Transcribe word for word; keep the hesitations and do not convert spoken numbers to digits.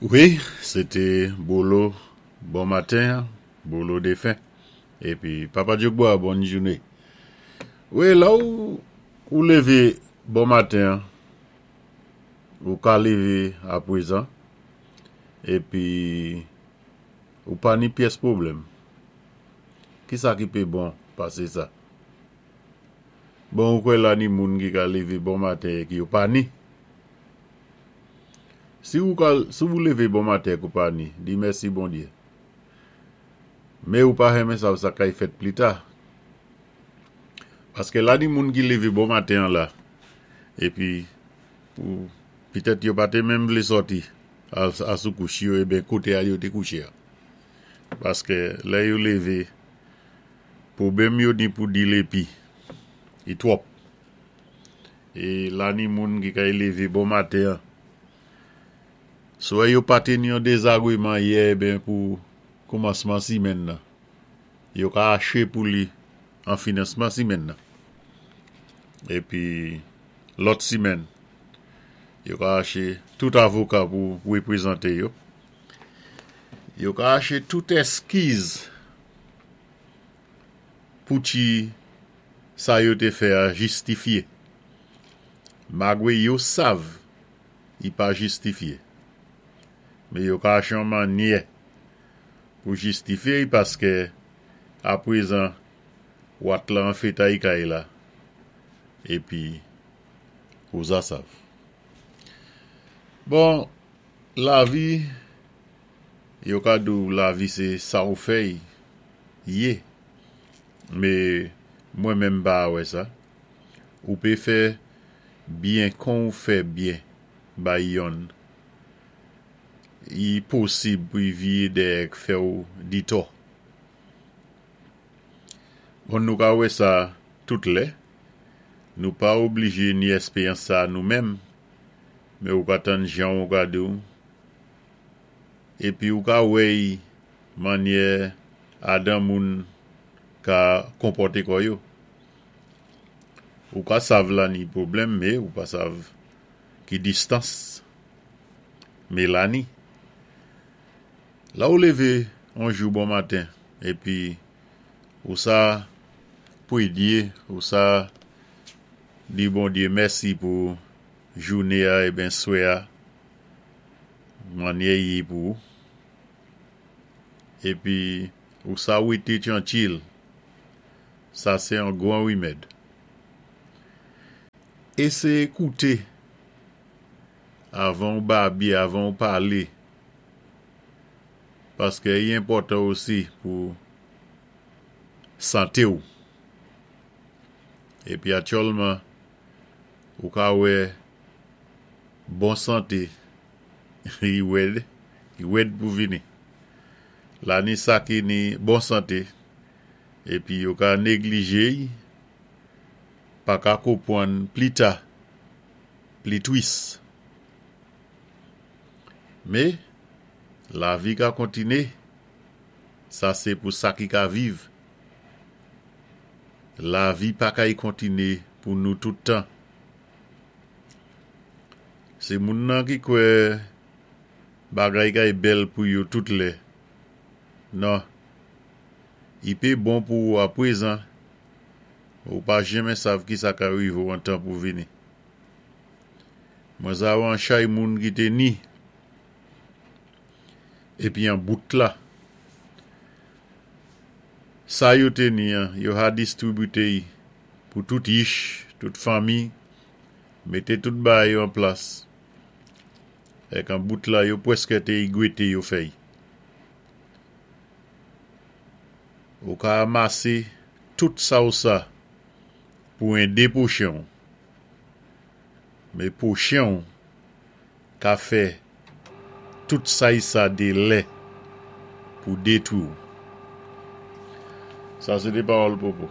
Wi, sé té Bolo bon maten, Bolo défen. Épi Papa Djogba, bòn jouné. Wi, la ou, ou lévé bon maten, ou ka lévé apwézan, épi ou pa ni pyès pwoblèm. Ki sa ki pé bon pasé sa? Bon, ou kwè la ni moun ki ka lévé bon maten ki yo pa ni. Si ou ka, si ou lévé bon maten kou pa ni, di mèsi Bondyé. Mé ou pa renmen sav sa kay fèt pli ta. Paské la ni moun ki lévé bon maten la, épi pou pitèt yo pa té menm vlé sòti a, a sou kouch yo, eben koté a yo té kouché a. Paské lè yo lévé, pwobèm yo ni pou dil épi, i twòp. É la ni moun ki kay lévé bon maten, swè yo pa té ni yon dézagwéman yè eben pou koumansman simèn nan. Yo ka aché pou li an finansman simèn nan. Épi lòt simèn, yo ka aché tout avoka pou wépwézanté yo. Yo ka aché tout èskiz pou ti sa yo té fè a jistifié. Magwé yo sav, i pa jistifié. Mé yo ka aché yon mannyè pou jistifié paské apwézan wat la an fétay kay la épi ou za sav. Bon, lavi, yo ka di ou lavi sé sa ou fè y yé. Mé mwen menm pa wè sa. Ou pé fè byen kon ou fè byen bay yonn. I posib pou y viyé dèyè k fè ou ditò. Bon, nou ka wè sa tout lè. Nou pa oblijé ni èspéryans sa nou menm, mé ou ka tann jan ou ka di ou. Épi ou ka wè mannyè adan moun ka konpòté kò yo. Ou ka sav la ni pwoblèm, mé ou pa sav ki distans. Mé la ni. La ou lévé on jou bon maten, épi ou sa pwédyé, ou sa di Bondyé mèsi pou jouné a eben swè a, mannyè yé pou ou. Épi ou sa wété twankil, sa sé an gwan wimèd. Éséyé kouté avan ou babyé, avan ou palé, paské i enpòtan osi pou santé ou. Épi aktyèlman, ou ka wè bon santé, i wèd, i wèd pou vini. La ni sa ki ni bon santé, épi yo ka néglijé, pa ka konpwann pli ta, pli twis. Mé, lavi ka kontiné, sa sé pou sa ki ka viv. Lavi pa kay kontiné pou nou tout tan. Sé moun nan ki kwè bagay kay bèl pou yo tout lè. Non, i pé bon pou ou apwézan, ou pa jenmen sav ki sa ka rivé ou an tan pou vini. Mwen sa an chay moun ki té ni, épi an bout la. Sa yo té ni an, yo ha distribité pou tout yich, tout fanmi, mété tout bagay yo an plas. Èk an bout la yo pwèské té égwété yo fè'y. Ou ka amasé tout sa ou sa pou édé pwochen ou. Mé pwochen ou ka fè tout sa y sa dé lè pou détwi ou. Sa sé té pawòl Popo.